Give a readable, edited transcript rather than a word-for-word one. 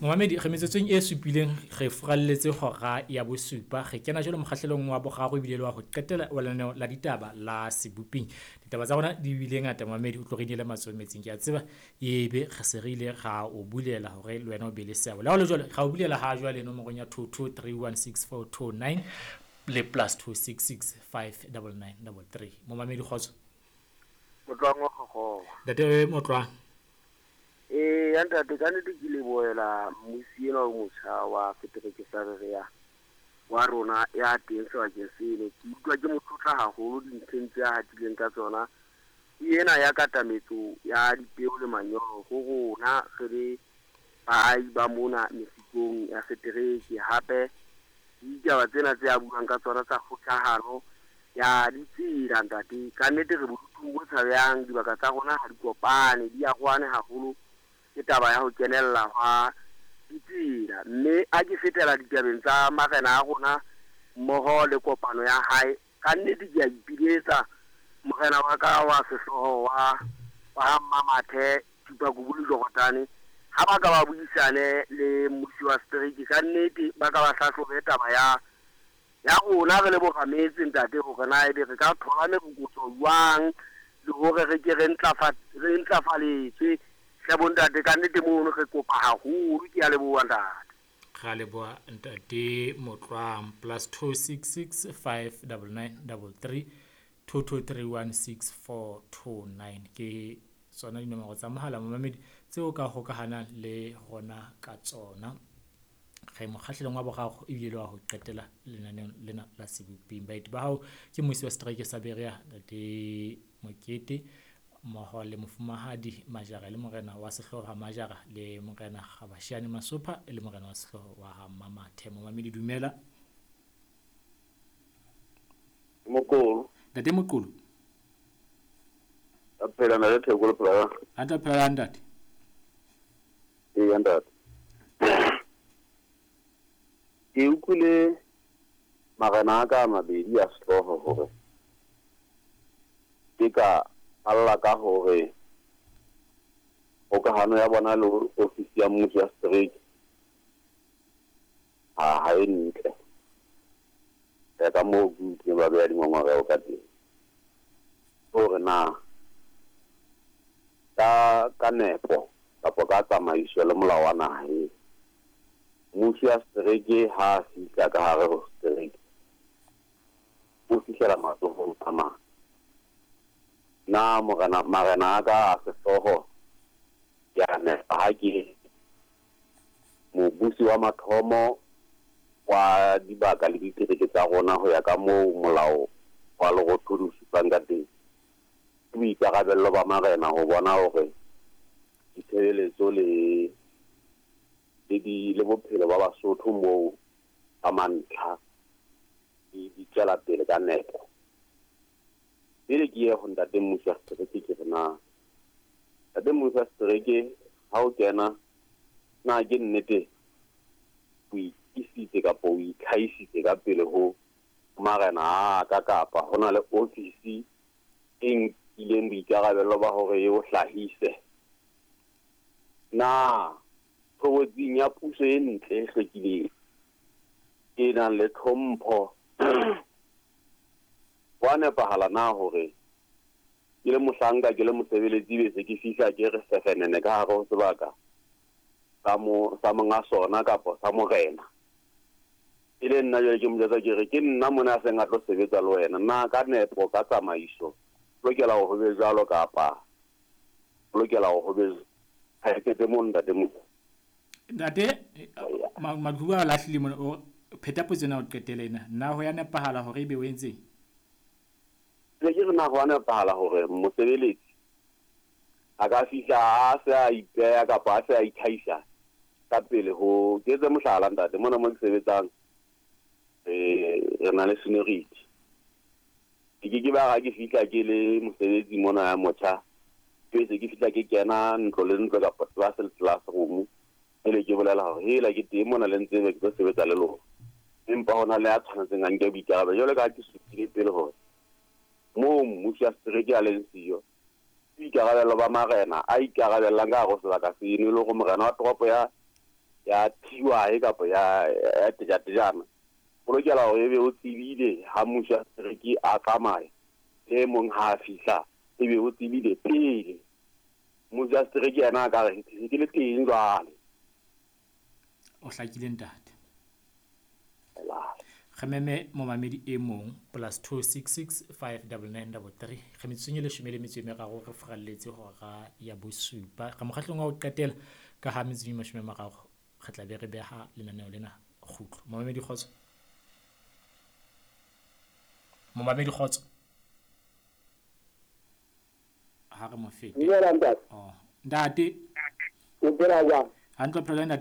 Momamedi, re metsotsong e supileng re furalletse hora ya bosupa. Re kena jwale mokgahlelong wa boraro ebile le wa ho qetela wa lenaneo la ditaba la Seboping. Ditaba tsa rona di bile ngata momamedi, o tlo re inele matsoho metsing. Ke a tseba ebe re se re ile ra o bulela hore le wena o be le seabo. Le ha ho le jwalo, ra o bulela ha jwale nomorong ya 22316429 le +266 59933. Momamedi, kgotso. Motlwang wa Kgokgowa. Ntate Motlwang. Ee, ya ntate, ka nnete ke lebohela mmusi enwa o motjha wa setereke sa Berea wa rona ya teng sebakeng seno. Ke utlwa ke mo tlotla haholo dinthong tse a hatileng ka tsona. Ke ena ya katametso ya dipeo le manyolo ho rona re le baahi ba mona mesikong ya setereke. Hape le ditaba tsena tse a buang ka tsona tsa kgohlahano ya ditsela ntate. Ka nnete re bodutung bo tshabehang, dibaka tsa rona ha di kopane, di arohane haholo ke taba ya ho kenella hwa ditsela. Mme ha ke fetela ditabeng tsa marena a rona mmoho le kopano ya hae, ka nnete ke a ipiletsa morena wa ka wa sehlooho wa wa ha Mmamathe Thupakubu le Jorotane, ha ba ka ba buisane le mmusi wa setereke, ka nnete ba ka ba hlahlobe taba ya ya rona re le borametse ntate, hore na ebe re ka thola merokotso jwang le hore re ke re ntlafaletswe. Hle bontate, ka nnete mono re kopa haholo. Ke a leboha ntate. Ra leboha ntate Motlwang. +266 59933 22316429 ke tsona dinomoro tsa mohala momamedi tseo ka hokahanang le rona ka tsona. Re mokgahlelong wa boraro ebile le wa ho qetela lenaneong lena la Seboping. Baeti ba hao ke mmusi wa setereke sa Berea ntate Mokete mmoho le mofumahadi Majara le morena wa sehlooho ha Majara le morena Kgabashane Masopha le morena wa sehlooho wa ha Mmamathe. Momamedi, dumela. Moqolo. Ntate Moqolo. A phela na le Theko le phela. A tla phela ntate. Ee, ntate. Ke utlwile marena a ka a mabedi a sehlooho hore ke ka alla ka hore kgokahano ya bona le ofisi ya mmuso ya setereke ha e ntle. Ya ka moo ke utlwileng ba beha dingongoreho ka teng. Hore na ka nepo kapa ka tsamaiso le molao wa naha eo, mmuso ya setereke ha a fihla ka hare ho setereke o fihlela matsohong a mang. Na morena marena a ka a sehlooho ke a nepa ha ke mobusi wa mathomo wa dibaka le ditereke tsa rona ho ya ka moo molao wa Lerothodi o supang ka teng? Ke boikarabello ba marena ho bona hore ditshebeletso le le di le bophelo ba Basotho moo ba mantlha di di tswela pele ka nepo. Pele ke ye ho ntate mmusi wa setereke, ke re na ntate mmusi wa setereke ha o kena, na ke nnete o ikisitse kapa o itlhahisitse ka pele ho marena a ka, kapa ho na le ofisi e nkileng boikarabello ba hore e o hlahise? Na tshobotsing ya puso e ntle e hlwekileng e nang le tlhompho ho a nepahala na hore ke le mohlanka, ke le mosebeletsi, be se ke fihla ke re sefenene ka hare ho sebaka sa mo sa monga sona kapa sa morena, e le nna jwale ke mo jwetsa ke re ke nna mona a seng a tlo sebetsa le wena? Na ka nepo, ka tsamaiso, lokela hore ho be jwalo kapa lokela hore ho be ha eketse mo ntate mo? Ntate Maqhubu a lahlile mona, o pheta potso ena o qetele ena. Na ho ya nepahala hore ebe o entseng? Ne ke re na ho a nepahala hore mosebeletsi a ka fihla a se a ipeha kapa a se a itlhahisa ka pele ho ke etse mohlala ntate mona mo ke sebetsang, re na le seniority. Ke ke ke ba ha ke fihla ke le mosebetsi mona ya motjha, ke se ke fihla ke kena ntlo le ntlo kapa class le classroom, pele ke bolela hore hela ke teng mona le ntsebe ke tlo sebetsa le lona. Empa hona le ya tshwanetseng a nke boikarabelo jwalo ka ha ke supile pele hore moo mmusi wa setereke a leng siyo, ke boikarabello ba marena a ikarabellang ka hare ho sebaka seno, e le hore morena wa toropo ya ya TY kapa ya tejatejana, o lokela hore ebe o tsebile ha mmusi wa setereke a tsamaya, e mong ha a fihla ebe o tsebile pele. Mmusi wa setereke yena a ka re ke le teng jwale. O hlakile ntate. Re meme momamedi e mong +266 599 33. Re metsotsong e 13 re furalletse hora ya bosupa. Re mokgahlelong wa ho qetela ka ha metsotsong e 30 re tla be re beha lenaneo lena kgutlo. Momamedi kgotso. Momamedi kgotso. Ha re mo fete. Dumela ntate. Oh, ntate. O phela jwang? Hantle, phela ntate.